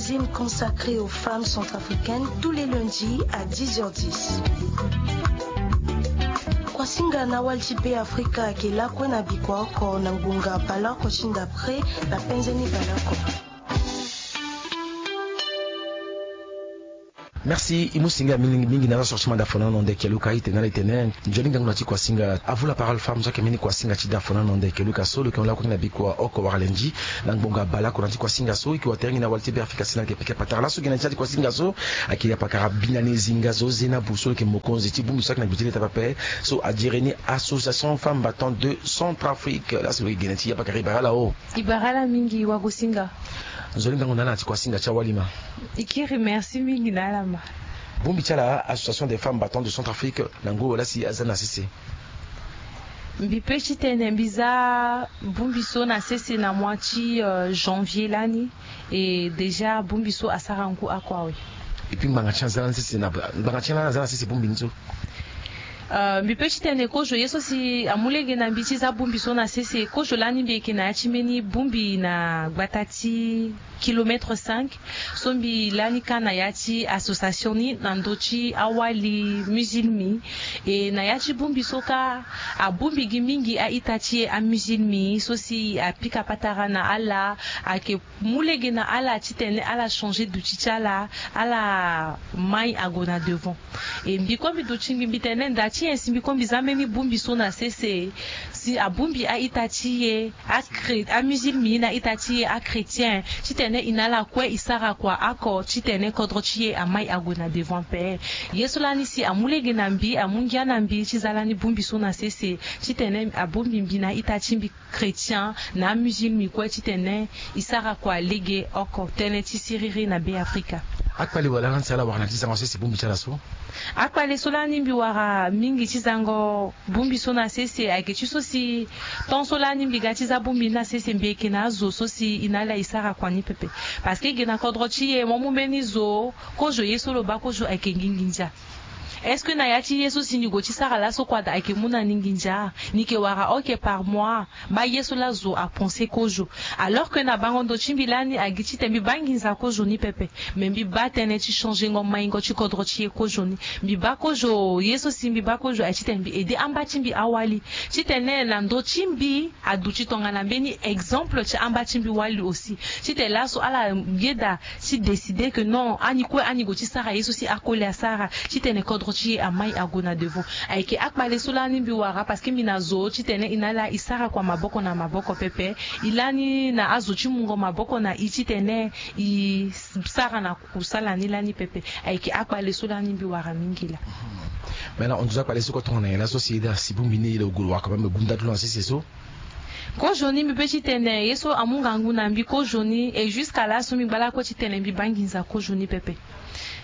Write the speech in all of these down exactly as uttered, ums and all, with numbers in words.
Magazine consacré aux femmes centrafricaines tous les lundis à dix heures dix. Kuasinga na awali ti Be Afrika ayeke lakue na bikua oko na ngbonga baleoko ti ndapre na penze ni baleoko. Merci. E mu singa mingi na ala so ti manda fona na ndo eke luka itene ala itene. Nzoni ngangu na ti kuasinga. Avu la parole femme so ayeke mbeni kuasinga ti da fona na ndo eke luka so lo yeke mu lakue na bikua oko wala lendi na ngbonga baleoko na ti kuasinga so e yeke watere gi na awali ti Be Afrika si na yeke pika patara laso gi na ti ala ti kuasinga so. Ayeke apakara binane zinga zo zena buso lo yeke mokonzi ti bongbi so ayeke na gbe ti leta pepe so adiri ni Association Femmes Battantes de Centrafrique laso lo yeke gi na ti apakara e bara ala o. E bara ala mingi wagosinga. Nzoni ngangu na ala na ti kuasinga ti awali ma. E kiri merci mingi na ala ma. Bongbi ti ala Association des Femmes Battantes de Centrafrique na ngu wala si aza na sese. Mbi pe ti tene mbi za bongbi so na sese na mois ti janvier lani. E déjà bongbi so asara ngu oko awe. Epui ngbanga ti aza na sese na ngbanga ti ala aza na sese bongbi ni so. Mbi pe ti tene kozo ye so si amu lege na mbi ti za bongbi so na sese kozo lani mbi yeke na ya ti mbeni bongbi na gbata ti kilomètre cinq. So mbi lani ka na ya ti association ni na ndö ti awali musulmi. E na ya ti bongbi so ka abongbi gi mingi a-ita ti e amusulmi so si apika patara na ala. Ayeke mu lege na ala titene ala changer duti ti ala. Ala mai ague na devant. E mbi kue mbi duti mbi mbi tene nda ti nyen si mbi kue mbi za mbeni bongbi so na sese si abongbi a-ita ti e. Amusulmi na ita ti e achrétien titene e na ala kue e sara kua oko titene kodro ti e amai ague na devant ape. Ye so lani si amu lege na mbi amu ngia na mbi ti za lani bongbi so na sese titene abongbi mbi na ita ti mbi chrétien na amusulmi kue titene e sara kua lege oko tënë ti siriri na Be Afrika. Akpale wala lani si ala wara na ti zango sese bongbi ti ala so? Akpale so lani mbi wara mingi ti zango bongbi so na sese ayeke ti so si temps so lani mbi ga ti za bongbi ni na sese mbi yeke na azo so si e na ala e sara kua ni pepe. Parce que e ge na kodro ti e mo mu mbeni zo kozo ye so lo baa kozo ayeke ngingi ndia. Est-ce que na ya ti ye so si ni gue ti sara laso kua daa ayeke mu na ni nginza? Ni yeke wara oke par mois. Baa ye so la zo apense kozo. Alors que na bango ndo ti mbi lani agi titene mbi baa nginza kozo ni pepe. Mais mbi baa tënë ti changengo maingo ti kodro ti e kozo ni. Mbi baa kozo ye so si mbi baa kozo aye titene mbi aider amba ti mbi awali titene na ndo ti mbi aduti tongana mbeni exemple ti amba ti mbi wali aussi. Titene laso ala yeda ti décider que non ani kue ani gue ti sara ye so si akoli asara titene kodro ti e amai ague na devant. Ayeke akpale so lani mbi wara parce que mbi na zo titene e na ala e sara kua maboko na maboko pepe. E lani na azo ti mungo maboko na e titene e sara na kusala ni lani pepe. Ayeke akpale so lani mbi wara mingi laa. Mais na hon nduzu akpale so kue tongana nyen laso si e daa si bongbi ni e lo gue lo wara kua même bongbi ndali ti lo na sese so? Kozo ni mbi pe titene ye so amu ngangu na mbi kozo ni et jusqu'à laso mbi ngba lakue titene mbi baa nginza kozo ni pepe.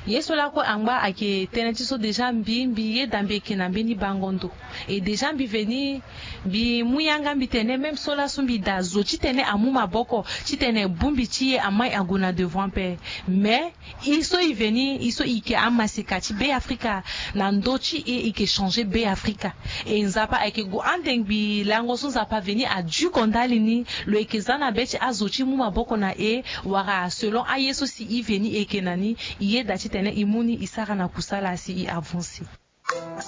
Ye so lakue angba ayeke tënë ti so déjà mbi mbi yeda mbi yeke na mbeni bango ndo. Et déjà mbi veni mbi mu yanga mbi tene même so laso mbi daa zo titene amu maboko titene bongbi ti e amai ague na devant ape. Mais e so e veni e so e yeke amaseka ti Be Afrika na ndö ti e e yeke changer Be Afrika. E Nzapa ayeke gue ande ngbii lango so Nzapa aveni aduko ndali ni. Lo yeke za na be ti azo ti mu maboko na e wala selon aye so si e veni e yeke na ni. E yeda titene e mu ni e sara na kusala si e avancer.